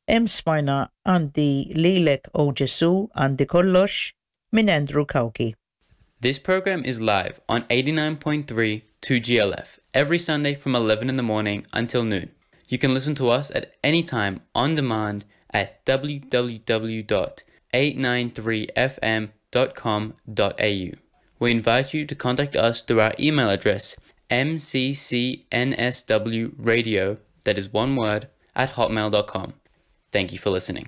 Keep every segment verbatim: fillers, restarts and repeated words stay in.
Hemm smajna Għandi Lilek O Ġesù Għandi Kollox minn Andrew Cauchi. This program is live on eighty-nine point three two G L F every Sunday from eleven in the morning until noon. You can listen to us at any time on demand at w w w dot eight nine three f m dot com dot a u. We invite you to contact us through our email address m c c n s w radio, that is one word, at hotmail dot com. Thank you for listening.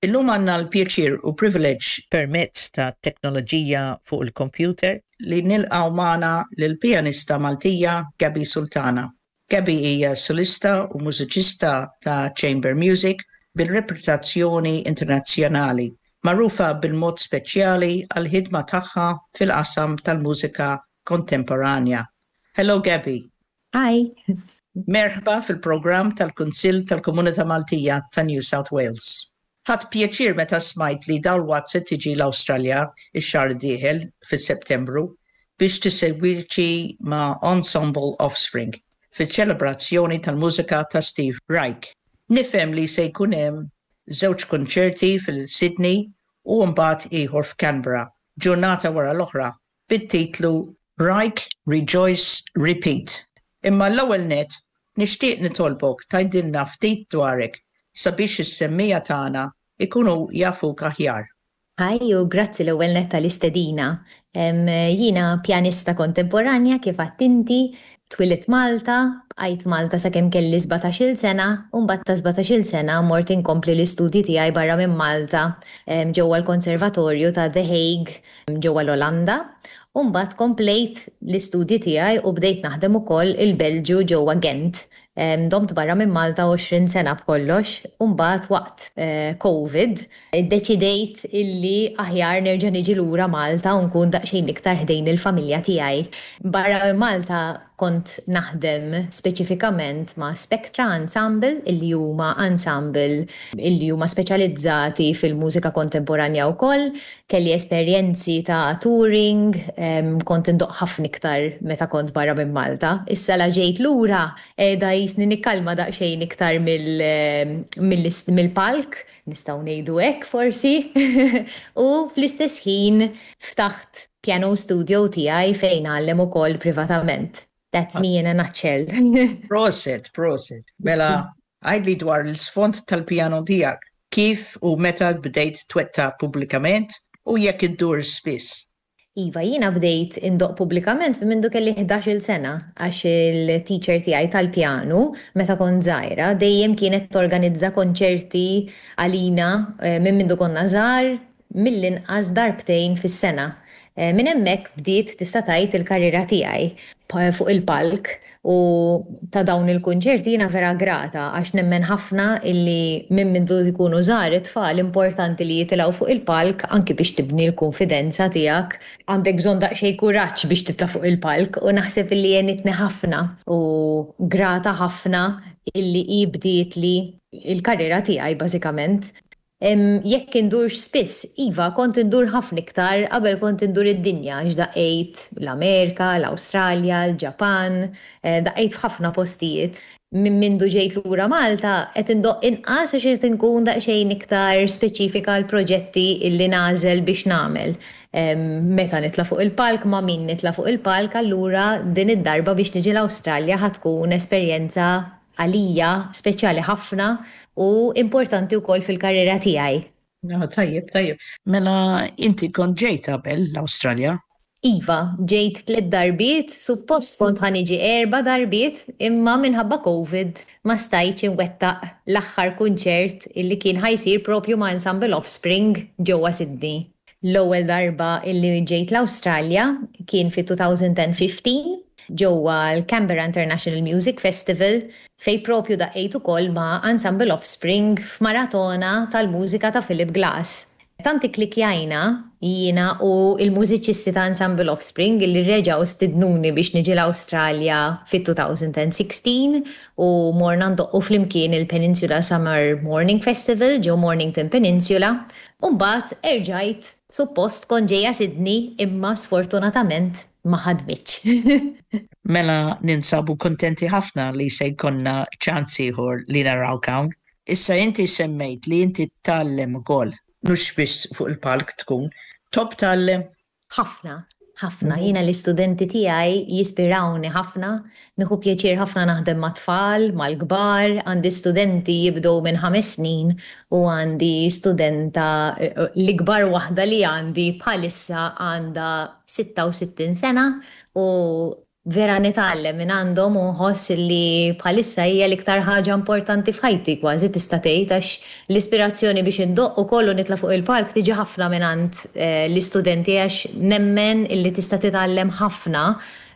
Illum għandna l-pjaċir u privileġġ permezz ta' teknoloġija fuq il-computer li nilqgħu magħna lill-pjanista Maltija Gabby Sultana. Gabby hija solista u mużiċista ta' chamber music bil-reputazzjoni internazzjonali, magħrufa bil-mod speċjali għal-ħidma tagħha fil-qasam tal-mużika kontemporanja. Hello, Gabby. Hi. Merħba fil-programm tal-Kunsill tal-Komunità Maltija ta' New South Wales. Ħadt pjaċir meta smajt li dalwaqt se tiġi l-Awstralja ix-xahar dieħel fis-Settembru biex tesegwixxi ma' Ensemble Offspring fil-ċelebrazzjoni tal-mużika ta' Steve Reich. Nifhem li se jkun hemm żewġ konċerti fil-Sydney u mbagħad ieħor f'Canberra, ġurnata wara l-oħra, bit-titlu Reich Rejoice Repeat. Imma l-ewwel net nixtieq nitolbok tgħidilna ftit dwarek sabiex is-semmiegħa tagħna ikunu jafuk aħjar. Hi u grazzi l-ewwel netta l-istedina. Jiena pjanista kontemporanja kif inti, twelidt Malta, bqajt Malta sakemm kelli sbatax-il sena, u mbagħad ta' sbatax-il sena mort inkompli l-istudji tiegħi barra minn Malta ġewwa l-Konservatorju ta' The Hague ġewwa l-Olanda. U mbagħad komplejt l-istudji tiegħi u bdejt naħdem ukoll il-Belġju ġewwa Gent. Domt barra minn Malta għoxrin sena b'kollox, u mbagħad waqt eh, Covid iddeċidejt illi aħjar nerġa' niġi lura Malta u nkun daqsxejn iktar ħdejn il-familja tiegħi. Barra minn Malta kont naħdem speċifikament ma' Spectra Ensemble, illi huma ensemble illi huma speċjalizzati fil-mużika kontemporanja wkoll. Kelli esperjenzi ta' touring, kont indoqq ħafna iktar meta kont barra minn Malta. Issa la ġejt lura qiegħda jisni nikkalma daqsxejn iktar mill-palk, nistgħu ngħidu hekk forsi. U fl-istess ħin ftaħt piano studio tiegħi fejn ngħallem ukoll privatament. That's me in a nutshell. Prosit, prosit. Mela, għidli dwar l-sfond tal-piano tiegħek. Kif u meta bdejt twettaq pubblikament u jekk iddur spiss? Iva, jiena bdejt indoqq pubblikament minn mindu kelli ħdax-il sena, għax il-teacher tiegħi tal-pjanu, meta kont żgħira, dejjem kienet torganizza konċerti għalina eh, minn mindu konna żgħar, mill-inqas darbtejn fis-sena. Eh, minn hemmhekk bdiet, tista' tgħid, il-karriera tiegħi fuq il-palk u ta' dawn il-kunċerti jiena vera grata għax nemmen ħafna illi minn mindu jkunu żgħar it-tfal importanti li jitilgħu fuq il-palk, anki biex tibni l-konfidenza tiegħek. Għandek bżonn daqsxejn kuraġġ biex titla' fuq il-palk u naħseb illi għenitni ħafna u grata ħafna illi hi bdiet li il-karriera tiegħi bażikament. Jekk indurx spiss, iva, kont indur ħafna iktar, qabel kont indur id-dinja, għax daqqejt l-Amerika, l-Awstralja, l-Ġapan, eh, daqqejt f'ħafna postijiet. Minn mindu ġejt lura Malta, qed indoqq inqas għax qed inkun daqsxejn iktar speċifika l-proġetti illi nagħżel biex nagħmel. Meta nitla' fuq il-palk, ma' min nitla' fuq il-palk, allura din id-darba biex niġi l-Awstralja ħa tkun esperjenza għalija speċjali ħafna u importanti wkoll fil-karriera tiegħi. No, tajjeb, tajjeb. Mela inti kont ġejt qabel l-Awstralja? Iva, ġejt tliet darbiet, suppost kont ħa niġi erba' darbiet, imma minħabba Covid ma stajtx inwettaq l-aħħar kunċert illi kien ħa jsir propju ma' Ensemble Offspring ġewwa Sydney. L-ewwel darba illi ġejt l-Awstralja kien fi elfejn u ħmistax ġewwa l-Canberra International Music Festival, fej propju daqqejt ukoll ma' Ensemble Offspring f'maratona tal-mużika ta' Philip Glass. Tant ikklikkjajna jiena u il-mużiċisti ta' Ensemble Offspring li reġgħu stidnuni biex niġi l-Awstralja fit-elfejn u sittax u morna ndoqqu flimkien il-Peninsula Summer Morning Festival ġo Mornington Peninsula. U mbagħad erġajt suppost kont ġejja Sydney, imma sfortunatament ma ħadmitx. Mela ninsabu kontenti ħafna li se jkollna ċans ieħor li narawk hawn. Issa inti semmejt li inti tgħallem ukoll, mhux biss fuq il-palk tkun, tħobb tgħallem? Ħafna, ħafna. Jiena l-istudenti tiegħi jispirawni ħafna, nieħu pjaċir ħafna naħdem ma' tfal, mal-kbar, għandi studenti jibdew minn ħames snin u għandi studenta, l-ikbar waħda li għandi bħalissa għandha sitta u sittin sena, u vera nitgħallem minn għandhom u nħoss li bħalissa hija l-iktar ħaġa importanti f'ħajti, kważi tista' tgħid, għax l-ispirazzjoni biex indoqq u kollu nitla' fuq il-palk tiġi ħafna minn għand eh, l-istudenti, għax nemmen illi tista' titgħallem ħafna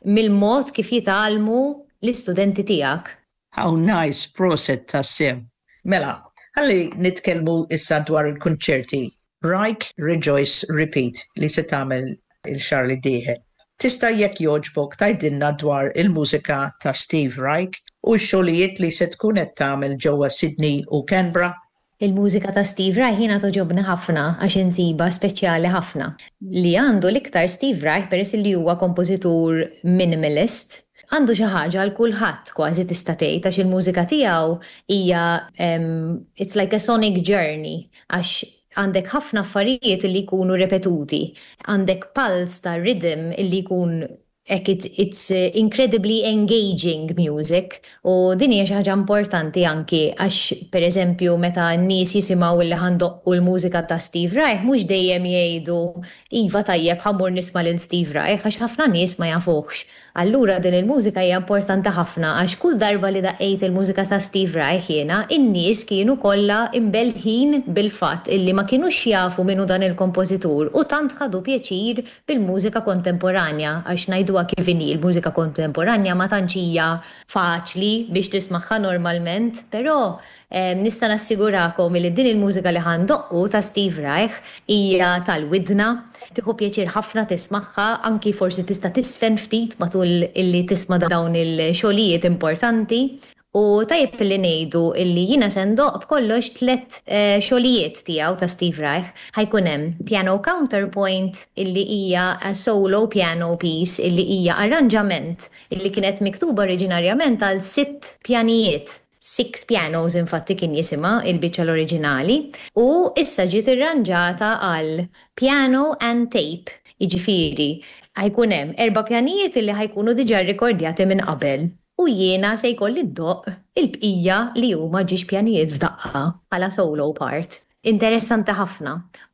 mill-mod kif jitgħallmu l-istudenti tiegħek. How nice, prosit tassew. Mela, ħalli nitkellmu issa dwar il-konċerti Reich Rejoice Repeat li se tagħmel ix-xahar li dieħel. Tista' jekk jogħġbok tgħidilna dwar il-mużika ta' Steve Reich u x-xogħlijiet li se tkun qed tagħmel ġewwa Sydney u Canberra? Il-mużika ta' Steve Reich jiena togħġobni ħafna għax insiba speċjali ħafna. Li għandu l-iktar Steve Reich, peress li huwa kompożitur minimalist, għandu xi ħaġa għal kulħadd, kważi tista' tgħid, għax il-mużika tiegħu hija um, it's like a sonic journey, għax għandek ħafna affarijiet li jkunu repetuti, għandek pulse ta' rhythm illi jkun ek it's, it's uh, incredibly engaging music, u din hija xi ħaġa importanti anki għax, pereżempju, meta n-nies jisimgħu li ħa ndoqqu l-mużika ta' Steve Reich, mhux dejjem jgħidu: "Iva, tajjeb, ħa mmur nisma' lil Steve Reich", għax ħafna nies ma jafuhx. Allura din il-mużika hija importanti ħafna, għax kull darba li daqqejt il-mużika ta' Steve Reich jiena, in-nies kienu kollha imbelħin bil-fatt illi ma kinux jafu minnu dan il-kompożitur u tant ħadu pjaċir bil-mużika kontemporanja, għax ngħiduha kif inhi, il-mużika kontemporanja ma tantx hija faċli biex tismagħha normalment, però eh, nista' nassigurakom li din il-mużika li ħa ndoqqu ta' Steve Reich hija tal-widna, tieħu pjaċir ħafna tismagħha, anki forsi tista' tiżfen ftit matul illi tisma' dawn il-xogħlijiet importanti. U tajjeb li ngħidu illi jiena se ndoqq b'kollox tlet eh, xogħlijiet tiegħu, ta' Steve Reich. Ħa jkun hemm Piano Counterpoint, illi hija a solo piano piece, illi hija arranġament illi kienet miktuba oriġinarjament għal sitt pjanijiet. Six Pianos infatti kien jisimha il-biċċa l-oriġinali, u issa ġiet irranġata għal piano and tape. Jiġifieri ħa jkun hemm erba' pjanijiet illi ħa jkunu diġà rrekordjati minn qabel u jiena se jkolli ndoqq il-bqija li huma ġiex pjanijiet f'daqqa bħala solo part. Interessanti ħafna.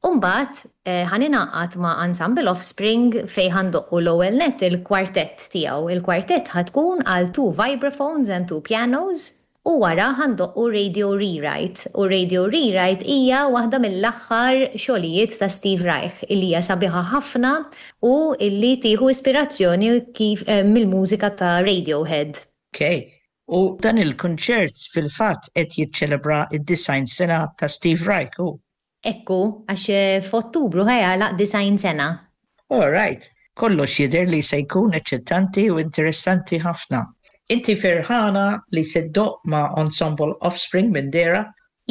Umbagħad eh, ħa ningħaqad ma' Ensemble Offspring fejn ħa ndoqqu l-ewwel net il-kwartett tiegħu. Il-kwartett ħa tkun għal two vibraphones and two pianos, u wara ħa ndoqqu Radio Rewrite. U Radio Rewrite hija waħda mill-aħħar xogħlijiet ta' Steve Reich illi hija sabiħa ħafna u illi tieħu ispirazzjoni kif eh, mill-mużika ta' Radiohead. Okay. U dan il-konċert fil-fatt qed jiċċelebra id-disgħin sena ta' Steve Reich. U. Ekku, għax eh, f'Ottubru ħa jagħlaq disgħin sena. All right. Kollox jidher li se jkun eċċitanti u interessanti ħafna. Inti ferħana li se ddoqq ma' Ensemble Offspring minn dera?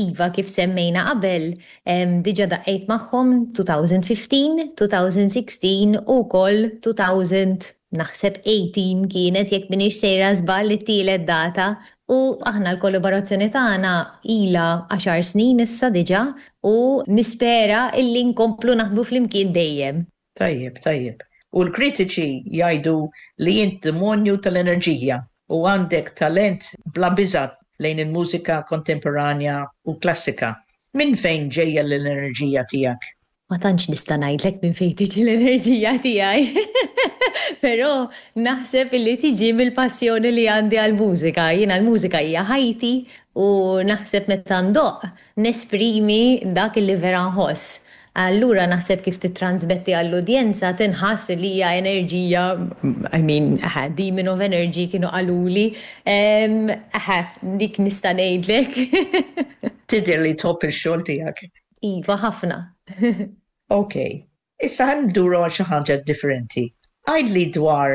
Iva, kif semmejna qabel, em, diġà daqqejt magħhom elfejn u ħmistax, elfejn u sittax u wkoll elfejn, naħseb tmintax kienet, jekk minix sejra żball, it-tielet data. U aħna l-kollaborazzjoni tagħna ilha għaxar snin issa diġà u nispera illi nkomplu naħdmu flimkien dejjem. Tajjeb, tajjeb. U l-kritiċi jgħidu li int demonju tal-enerġija u għandek talent bla biża' lejn il-mużika kontemporanja u klassika. Min fejn ġejja l-enerġija tiegħek? Ma tantx nista' ngħidlek minn fejn tiġi l-enerġija tiegħi. Però naħseb illi tiġi mill-passjoni li għandi għall-mużika. Jiena l-mużika hija ħajti u naħseb meta ndoqq nesprimi dak illi vera nħoss. Allura naħseb kif titransmetti għall-udjenza tinħass li hija enerġija, I mean, aha, demon of energy kienu qaluli, um, aha, dik nista' ngħidlek. Tidher li tħobb il-xogħol tiegħek. Iva, ħafna. Ok. Issa ħa nduru għal xi ħaġa differenti. Għidli dwar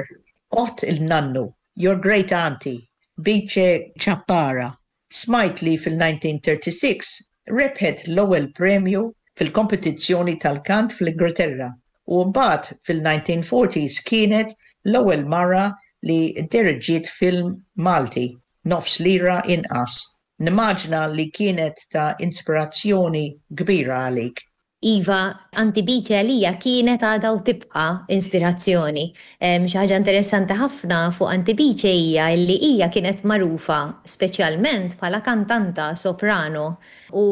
oħt il-nannu, your great auntie, Bice Ciappara. Smajt li fil-elf disa' mija u tlieta u tletin rebħet l-ewwel premju fil-kompetizzjoni tal-kant fl-Ingilterra u mbagħad fil-elf disa' mija u erbgħin kienet l-ewwel mara li diriġiet film Malti, Nofs Lira Inqas. Nimmaġina li kienet ta' inspirazzjoni kbira għalik. Iva, Auntie Bice għalija kienet, għadha u tibqa inspirazzjoni. Xi ħaġa interessanti ħafna fuq Auntie Bice hija li hija kienet magħrufa speċjalment bħala kantanta soprano u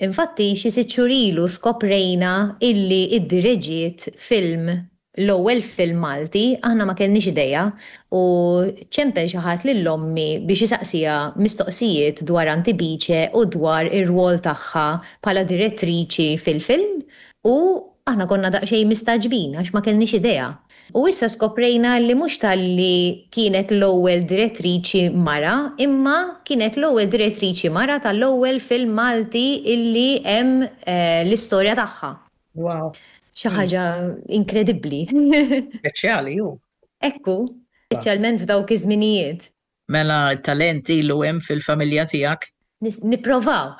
infatti xi sitt xhur ilu skoprejna illi iddireġiet film, l-ewwel film Malti. Aħna ma kellniex idea u ċempel xi ħadd lil ommi biex isaqsiha mistoqsijiet dwar Auntie Bice u dwar ir-rwol tagħha bħala direttriċi fil-film u aħna konna daqsxejn mistagħġbin għax ma kellniex idea. U issa skoprejna li mhux talli kienet l-ewwel direttriċi mara, imma kienet l-ewwel direttriċi mara tal-ewwel film Malti illi hemm eh, l-istorja tagħha. Wow. Xi ħaġa inkredibbli. Speċjali ju. Ekku, speċjalment f'dawk iż-żminijiet. Mela talent ilu hemm fil-familja tiegħek. Nipprovaw.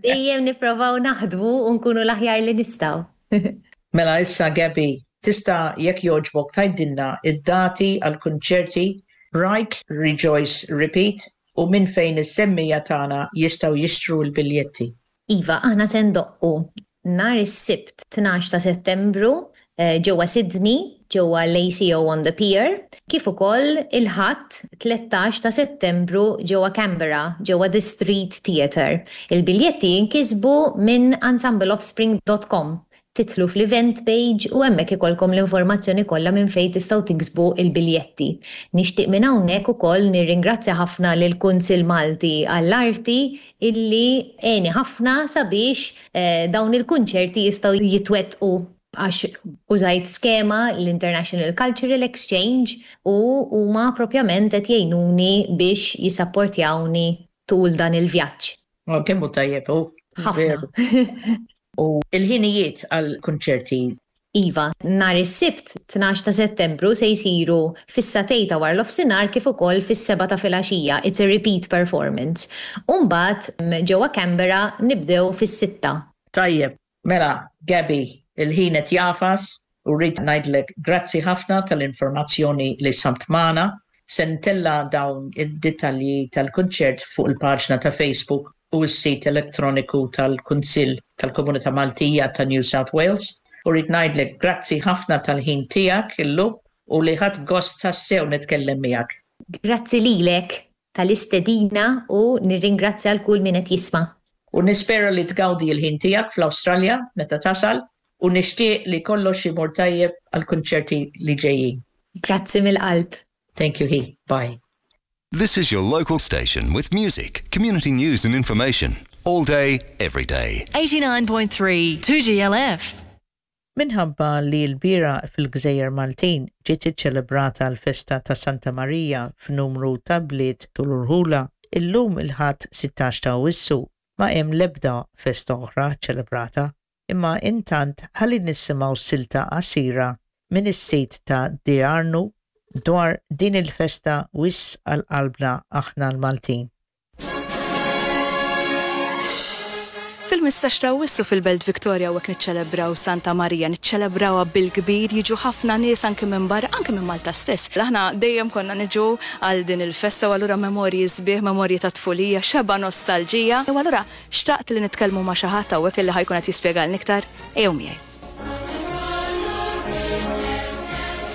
Dejjem nipprovaw naħdmu u nkunu l-aħjar li nistgħu. Mela issa, Gabi, tista' jekk jogħġbok tgħidilna id-dati għal-kunċerti Break, Rejoice, Repeat u minn fejn is-semmiegħa tagħna jistgħu jixtru l-biljetti? Iva, aħna se ndoqqu nhar is-Sibt tnax ta' Settembru eh, ġewwa Sydney, ġewwa l-A C O on the Pier, kif ukoll il-Ħadd tlettax ta' Settembru ġewwa Canberra, ġewwa The Street Theatre. Il-biljetti jinkisbu minn ensembleoffspring dot com. Tidħlu fl-event page u hemmhekk ikollkom l-informazzjoni kollha minn fejn tistgħu tiksbu il-biljetti. Nixtieq minn hawnhekk ukoll nirringrazzja ħafna lil Kunsill Malti għall-Arti illi għeni ħafna sabiex eh, dawn il-kunċerti jistgħu jitwettqu, għax użajt skema, l-International Cultural Exchange, u huma propjament qed jgħinuni biex jisapportjawni tul dan il-vjaġġ. Oh, kemm hu tajjeb hu. Ħafna. U il-ħinijiet għal-kunċerti? Iva, nhar is-Sibt tnax ta' Settembru se jsiru fis-sagħtejn ta' wara nofsinhar kif ukoll fis-sebgħa ta' filgħaxija. It's a repeat performance. Umbagħad ġewwa Canberra nibdew fis-sitta. Tajjeb, mela, Gabi, il-ħin qed jagħfas u rrid ngħidlek grazzi ħafna tal-informazzjoni li qsamt magħna. Se ntella' dawn id-dettalji tal-kunċert fuq il-paġna ta' Facebook u s-sit elettroniku tal-Kunsill tal-Komunità Maltija ta' New South Wales. U rrid ngħidlek grazzi ħafna tal-ħin tiegħek illum u li ħadt gost tassew nitkellem miegħek. Grazzi lilek tal-istedina u nirringrazzja lil kull min qed jisma'. U nispera li tgawdi l-ħin tiegħek fl-Awstralja meta tasal u nixtieq li kollox imur tajjeb għal-kunċerti li ġejjin. Grazzi mill-qalb. Thank you, he. Bye. This is your local station with music, community news and information. All day, every day. eighty-nine point three two G L F. Minħabba li l-bieraħ fil-Gżejjer Maltin ġiet iċċelebrata l-festa ta' Santa Marija f'numru ta' bliet u rħula, illum il-Ħadd sittax ta' Awwissu ma hemm l-ebda festa oħra ċelebrata, imma intant ħalli nisimgħu silta qasira minn is-sit ta' Diarnu dwar din il-festa wisq għal qalbna aħna l-Maltin. Fil-ħmistax ta' Awwissu fil-Belt Victoria u niċċelebraw Santa Marija, niċċelebrawha bil-kbir, jiġu ħafna nies anke minn barra, anke minn Malta stess. Aħna dejjem konna niġu għal din il-festa u allura memorji sbieħ, memorji ta' tfulija, xeba nostalġija. U allura xtaqt li nitkellmu ma' xi ħadd hawnhekk illi ħa jkun qed jispjegalna iktar. Ejjew miegħi.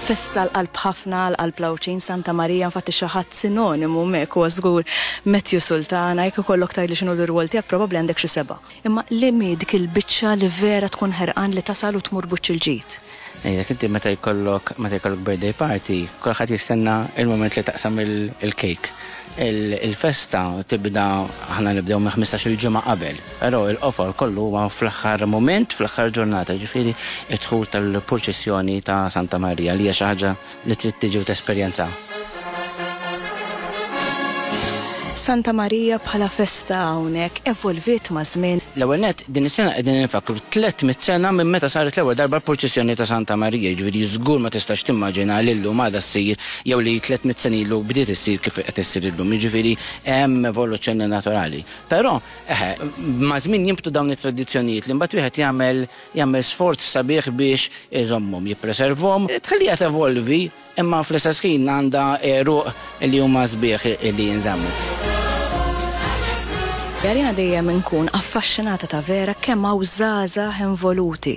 Festa l-qalb ħafna, l-qalb l-Għawdxin, Santa Marija, infatti xi ħadd sinonimu mek huwa żgur Matthew Sultana. Jekk ikollok tgħidli x'inhu l-irwol tiegħek, probabbli għandek xi seba'. Imma li mi dik il-biċċa li vera tkun ħerqan li tasal u tmur buċċ il-ġid? Ejja, inti meta jkollok meta jkollok birthday party, kulħadd jistenna il-moment li taqsam il-cake. Il-festa tibda, aħna nibdew minn ħmistax il-ġimgħa qabel, però il-qofol kollu huwa fl-aħħar moment, fl-aħħar ġurnata, ġifieri id-dħul tal-purċissjoni ta' Santa Marija, li hija xi ħaġa li trid tiġi u tesperjenza. Santa Marija bħala festa hawnhekk evolviet ma' żmien. L-ewwel nett, din is-sena qegħdin infakru tliet mitt sena minn meta saret l-ewwel darba l-purċissjoni ta' Santa Marija, jiġifieri żgur ma tistax timmaġina li llum għadha ssir jew li tliet mitt sena ilu bdiet issir kif qed issir illum, jiġifieri hemm evoluzzjoni naturali. Però eħe, ma' żmien jinbtu dawn it-tradizzjonijiet li mbagħad wieħed jagħmel jagħmel sforz sabiħ biex iżommhom, jippreservhom, tħalliha tevolvi, imma fl-istess ħin għandha għeruq li huma sbieħ li jinżammu. Jiena dejjem nkun affaxxinata ta' vera kemm hawn żgħażagħ involuti.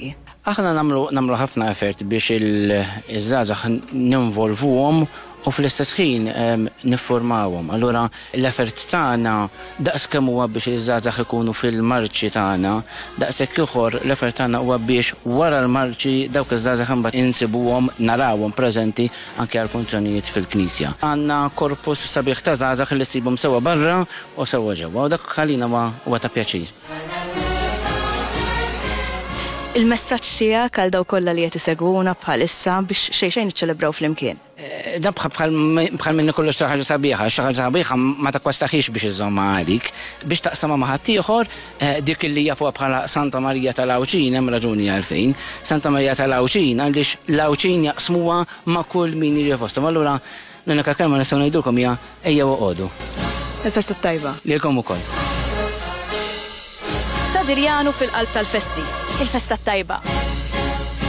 Aħna nagħmlu nagħmlu ħafna effort biex iż-żgħażagħ ninvolvuhom u fl-istess ħin niffurmawhom. Allura l-effort tagħna daqs kemm huwa biex iż-żgħażagħ ikunu fil-marċi tagħna, daqshekk ieħor l-effort tagħna huwa biex wara l-marċi dawk iż-żgħażagħ imbagħad insibuhom, narawhom preżenti anke għal funzjonijiet fil-knisja. Għandna korpus sabiħ ta' żgħażagħ li ssibhom sewwa barra u sewwa ġewwa u dak għalina huwa ta' pjaċir. Il-messaġġ tiegħek għal dawk kollha li qed isegwuna bħalissa biex xejn xejn niċċelebraw flimkien. Dan bħal minni kollox xi ħaġa sabiħa, xi ħaġa sabiħa ma takkwastaħiex biex iżżommha għalik, biex taqsamha ma' ħaddieħor, dik li jafuha bħala Santa Marija tal-Għawdxin hemm raġuni għalfejn. Santa Marija tal-Għawdxin għaliex l-Għawdxin jaqsmuha ma' kull min jiġi fosthom. Allura l-unika kelma nistgħu ngħidulkom hija ejjew oqogħdu. Il-festa tajba. Lilkom ukoll. Ta' Dirjanu fil-qalb tal-festi. Il-festa tajba.